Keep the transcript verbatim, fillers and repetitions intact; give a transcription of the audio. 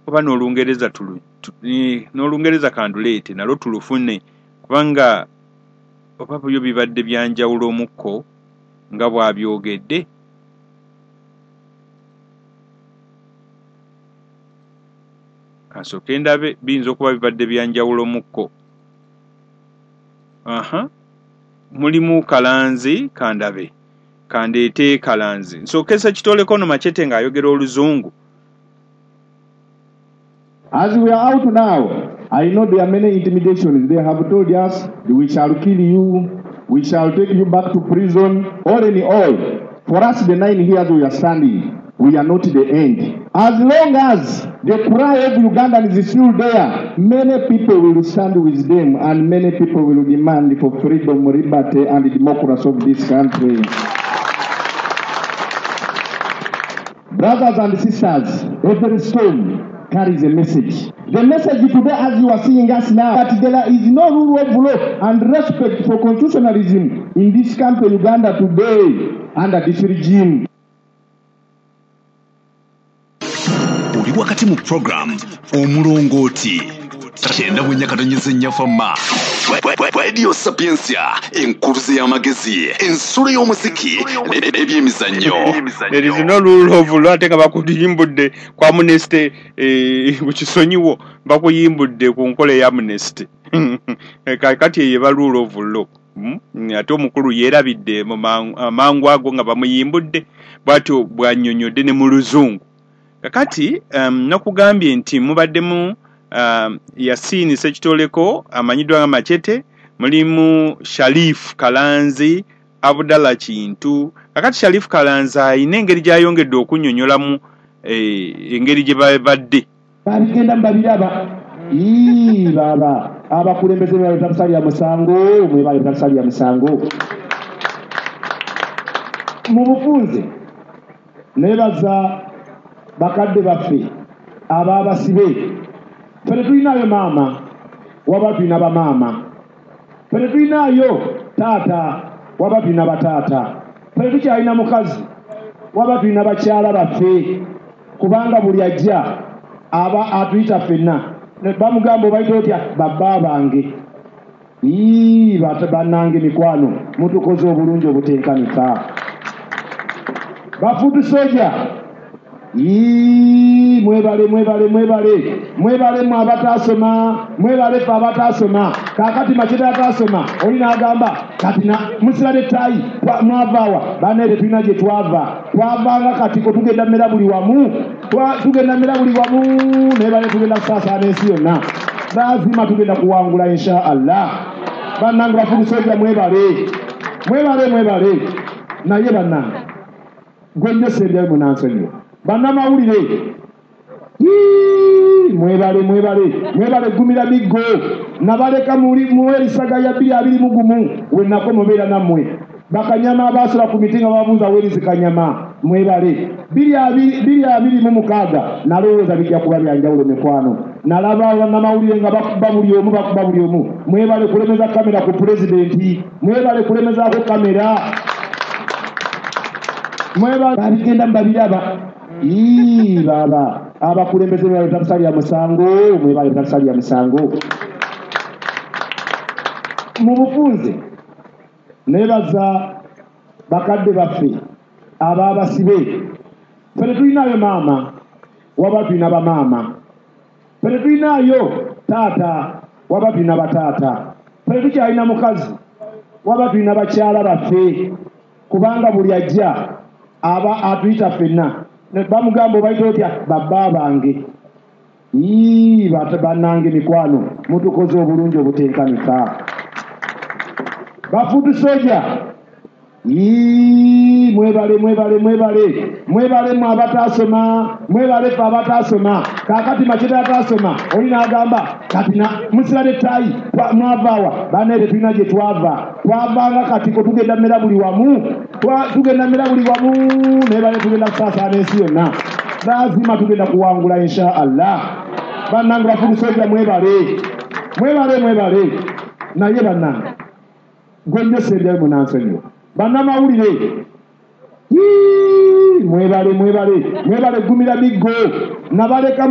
Oba n'Olungereza tulu n'Olungereza kanduleete nalwo tulufune, kubanga oba byo bibadde byanjawulo omukko nga bw'abyogedde. Kansooke ndabe, biyinza okuba bibadde byanjawulo mukko. Aha, mulimu Kalanzi, kandabe, kandeete Kalanzi. Nsooke Ssekitoleko ono Machete ng'ayogera Oluzungu. As we are out now, I know there are many intimidations. They have told us, we shall kill you, we shall take you back to prison. All in all, for us, the nine years we are standing, we are not the end. As long as the cry of Ugandans is still there, many people will stand with them and many people will demand for freedom, liberty and democracy of this country. Brothers and sisters, every stone carries a message. The message today, as you are seeing us now, that there is no rule of law and respect for constitutionalism in this country, Uganda today, under this regime. Oli wakati mu program Omulongooti kyenda mu nyakatonyeze nnyafama Radio Sapientia, enkuluze y'amagezi, ensulo y'omuziki n'ebyemizannyo. There is no rule of law, ate nga bakuyimbudde ku amnesty, eh, ku kisonyiwo bakuyimbudde ku nkola ya amnesty. Kati eyo eba rule of law. Mm? Ate omukulu yeerabidde mu mangu ago nga bamuyimbudde, bw'atyo bw'annyonnyodde ne mu Luzungu. Kakati um, nakugambye nti mubaddemu um, Yasini Ssekitoleko amanyiddwa nga Machete, mulimu Sharif Kalanzi, Abdallah Kintu. Kakati Sharif Kalanzi ayina engeri gy'ayongedde okunnyonnyolamu eh, engeri gye babadde. Babigenda mbabiraba. Ii baba abakulembeze bali musango, mwebale batasalya musango. Mu bufunze nebaza bakadde baffe ababasibe. Ffe tetulinayo maama, waba tulina bamaama. Ffe tetulinayo taata, waba tulina bataata. Ffe tetukyalina mukazi, waba tulina bakyala baffe, kubanga buli ajja aba atuyita ffenna. Bamugamba obayita otya? Babba bange. Ii bannange mikwano, mutukoze obulungi obutenkanika. Bafutu soja. Ii mwebale mwebale mwebale mwebale mwe abatasoma, mwebale ffe abatasoma. Kaakati Machete atasoma oli n'agamba kati musira nettayi mwavaawa. Bannaye tetulina gye twava, twavanga katiko, tugenda mmera buli wamu, tugenda mmera buli wamu, naye bane tugenda kusaasaana ensi yonna. Lazima tugenda kuwangula insha Allah. Bannange bafukusojja mwebale mwebale mwebale. Naye bannange gwe nnyo sembyayo munansonyiwa. Bannamawulire mwebale mwebale mwebale gumira miggo. Nabaleka muwerisaga ya bbiri abiri mu gumu we nako mubeera nammwe. Bakanyama abaasula ku miti nga babuuza werizi kanyama mwebale. Bbiri abiri mu mukaaga nalowooza bijja kuba bya njawulo mikwano. Nalaba bannamawulire nga bakuba buli omu bakuba buli omu. Mwebale kulemeza kamera ku pulezidenti, mwebale kulemezaako kamera. Mwebale babigenda mbabiraba. Ii baba abakulembeze bali batasalya musango, mwebale batasalya musango. Mu bufunze nebaza bakadde baffe ababasibe. Ffe tetulinayo maama, waba tulina bamaama. Ffe tetulinayo taata, waba tulina bataata. Ffe tetukyalina mukazi, waba tulina bakyala baffe, kubanga buli ajja aba atuyita ffenna. Bamugamba obayita otya? Babba bange. Ii bannange mikwano, mutukoze obulungi obutenkanika. Bafutu soja. Ii mwebale mwebale mwebale mwebale mwe abatasoma, mwebale ffe abatasoma. Kaakati Machete atasoma oli n'agamba kati musira nettayi mwavaawa. Bannaye tetulina gye twava, twavanga katiko, tugenda mmera buli wamu, tugenda mmera buli wamu, naye bane tugenda kusaasaana ensi yonna. Lazima tugenda kuwangula insha Allah. Bannange bafukusojja mwebale mwebale mwebale. Naye bannange gwe nnyo sembyayo munansonyiwa. Bannamawulire mwebale mwebale mwebale gumira miggo. Nabaleka